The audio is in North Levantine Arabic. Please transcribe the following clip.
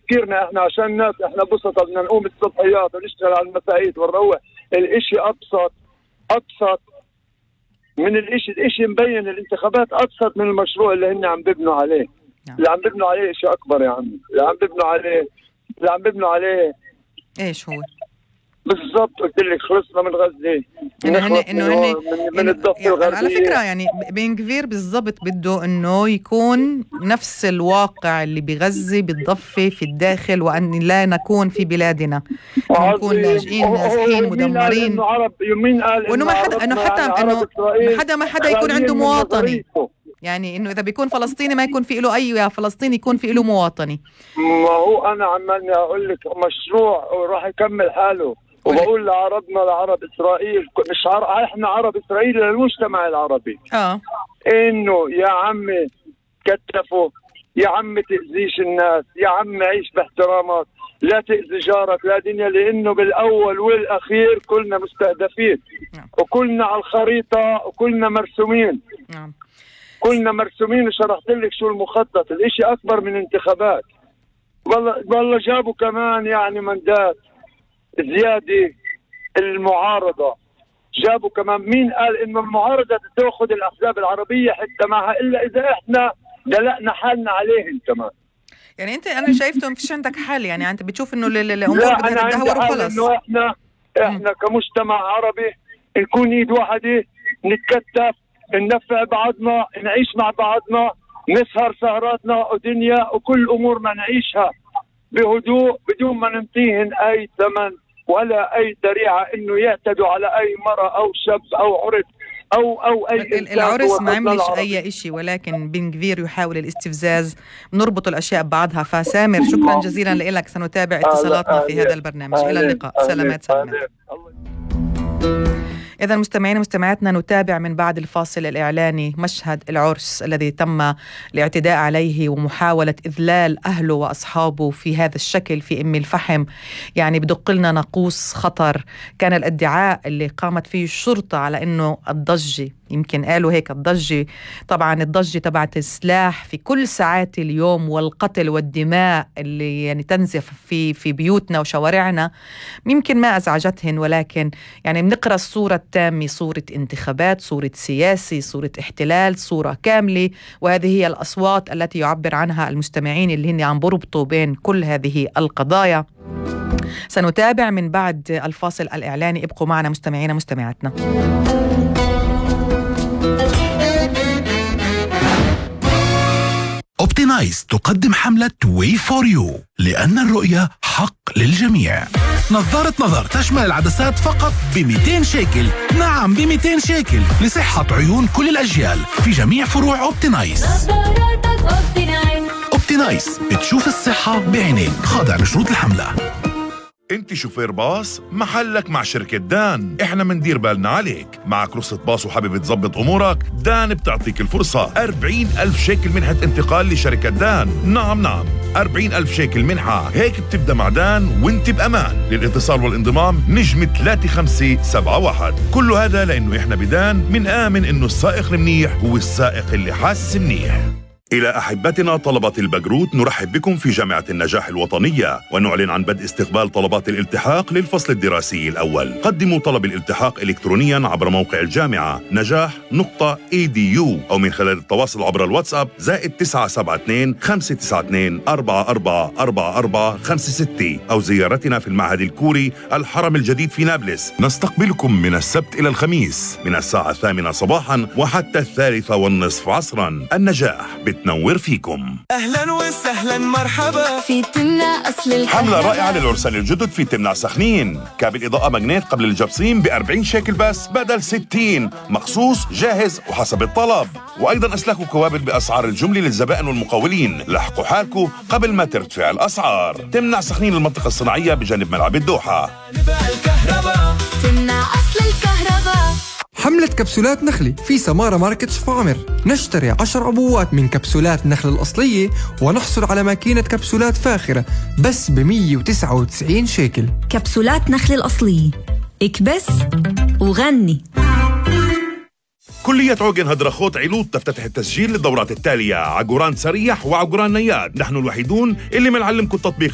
تفكيرنا احنا عشان ناس احنا بسطة بدنا نقوم الصبحيات ونشتغل على المساعيد ونروح. الاشي ابسط من الاشي مبين. الانتخابات ابسط من المشروع اللي هن عم ببنوا عليه. اللي عم ببنوا عليه اشي اكبر يا عمي. اللي عم ببنوا عليه ايش هو بالضبط؟ قلت لك خلصنا من غزة، من الضفة يعني الغربية. على فكرة يعني بن كفير بالضبط بده انه يكون نفس الواقع اللي بغزة بالضفة في الداخل، وان لا نكون في بلادنا، نكون لاجئين نازحين مدمرين. وانه ما حدا يكون عنده مواطني. يعني انه اذا بيكون فلسطيني ما يكون في له اي فلسطيني يكون في له مواطني. ما هو انا عمالني اقول لك مشروع راح يكمل حاله. وبقول لعربنا لعرب اسرائيل، مش احنا عرب اسرائيل للمجتمع العربي، انه يا عمي كتفوا، يا عمي تأذيش الناس، يا عمي عيش باحترامك، لا تأذي جارك لا دنيا، لانه بالاول والاخير كلنا مستهدفين وكلنا على الخريطة وكلنا مرسومين. كلنا مرسومين. وشرحت لك شو المخطط. الاشي اكبر من انتخابات. والله جابوا كمان يعني مندات زيادة. المعارضة جابوا كمان. مين قال انه المعارضة تأخذ الاحزاب العربية حتى معها الا اذا احنا دلقنا حالنا عليهم كمان؟ يعني انا شايفته مفيش عندك حل. يعني انت بتشوف انه الامور بدها تدهور وخلص. انه احنا كمجتمع عربي نكون ايد واحدة، نتكتف، ننفع بعضنا، نعيش مع بعضنا، نسهر سهراتنا ودنيا وكل امورنا نعيشها بهدوء بدون ما ننطيهن اي ثمن ولا اي ذريعه انه يعتدوا على اي مرأة او شاب او عرس او اي انسان. العرس ما عملش اي شيء، ولكن بن كفير يحاول الاستفزاز. نربط الاشياء ببعضها. فسامر شكرا جزيلا لك. سنتابع اتصالاتنا في هذا البرنامج. الى اللقاء. سلامات. إذا مستمعين ومستمعاتنا نتابع من بعد الفاصل الإعلاني مشهد العرس الذي تم الاعتداء عليه ومحاولة إذلال أهله وأصحابه في هذا الشكل في أم الفحم. يعني بدق لنا ناقوس خطر. كان الادعاء اللي قامت فيه الشرطة على أنه الضجة، يمكن قالوا هيك الضجة، طبعا الضجة تبعت السلاح في كل ساعات اليوم والقتل والدماء اللي يعني تنزف في بيوتنا وشوارعنا يمكن ما أزعجتهن، ولكن يعني بنقرأ الصورة التامة، صورة انتخابات، صورة سياسي، صورة احتلال، صورة كاملة. وهذه هي الأصوات التي يعبر عنها المستمعين اللي هن عم بربطوا بين كل هذه القضايا. سنتابع من بعد الفاصل الإعلاني. ابقوا معنا مستمعين ومستمعاتنا. أوبتينايز تقدم حملة Way for you لأن الرؤية حق للجميع. نظارة نظر تشمل العدسات فقط ب200 شيكل. نعم ب200 شيكل لصحة عيون كل الأجيال في جميع فروع أوبتينايز. أوبتينايز بتشوف الصحة بعينيك. خاضع لشروط الحملة. انت شوفير باص محلك مع شركة دان. احنا مندير بالنا عليك. معك رخصة باص وحابب تظبط امورك؟ دان بتعطيك الفرصة. 40,000 شيكل منحة انتقال لشركة دان. نعم 40,000 شيكل منحة. هيك بتبدأ مع دان وانت بأمان. للاتصال والانضمام نجم 3571. كل هذا لانه احنا بدان من آمن انه السائق المنيح هو السائق اللي حاسس منيح. إلى أحبتنا طلبة البكالوريوس نرحب بكم في جامعة النجاح الوطنية ونعلن عن بدء استقبال طلبات الالتحاق للفصل الدراسي الأول. قدموا طلب الالتحاق إلكترونيا عبر موقع الجامعة نجاح.edu أو من خلال التواصل عبر الواتساب +972 592 444456 أو زيارتنا في المعهد الكوري الحرم الجديد في نابلس. نستقبلكم من السبت إلى الخميس من الساعة 8 صباحا وحتى 3:30 عصرا. النجاح بتنور فيكم. أهلا وسهلا مرحبا في تمنع أصل الكهرباء. حملة رائعة للعرسان الجدد في تمنع سخنين. كابل إضاءة ماجنيت قبل الجبصين ب40 شيكل بس بدل 60. مخصوص جاهز وحسب الطلب. وأيضا أسلاك وكوابل بأسعار الجملة للزبائن والمقاولين. لحقوا حالكم قبل ما ترتفع الأسعار. تمنع سخنين المنطقة الصناعية بجانب ملعب الدوحة. تمنع أصل الكهرباء. حملة كبسولات نخلي في سمارة ماركت شفاعمر. نشتري 10 عبوات من كبسولات نخل الأصلية ونحصل على ماكينة كبسولات فاخرة بس ب199 شيكل. كبسولات نخل الأصلية، اكبس وغني. كلية عوجن هدرخوت علوط تفتتح التسجيل للدورات التالية: عقوران سريح وعقوران نياد. نحن الوحيدون اللي منعلمكم التطبيق